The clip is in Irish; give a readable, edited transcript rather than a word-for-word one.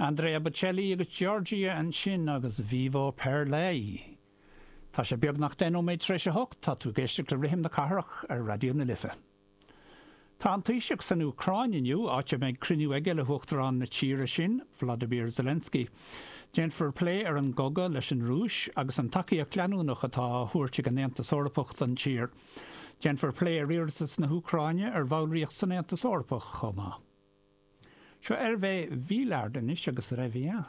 Andrea Bocelli agus Giorgia ansin agus Vivo per lei. Tá sé beagnach 10 nóiméad tar éis a hocht, tá tú ag éisteacht le Rithim na Cathrach ar Raidió na Life. Tá an Taoiseach san Úcráin inniu, áit a mbeidh cruinniú aige le hUachtarán na tíre sin, Volodymyr Zelensky. Déanfar plé ar an gcogadh leis an Rúis agus an tacaíocht leanúnach atá á thabhairt ag an Aontas Eorpach don tír. Déanfar plé ar iarratas na hÚcráine ar bhallraíocht san Aontas Eorpach chomh maith. Seo Hervé Vilard anois agus Reviens.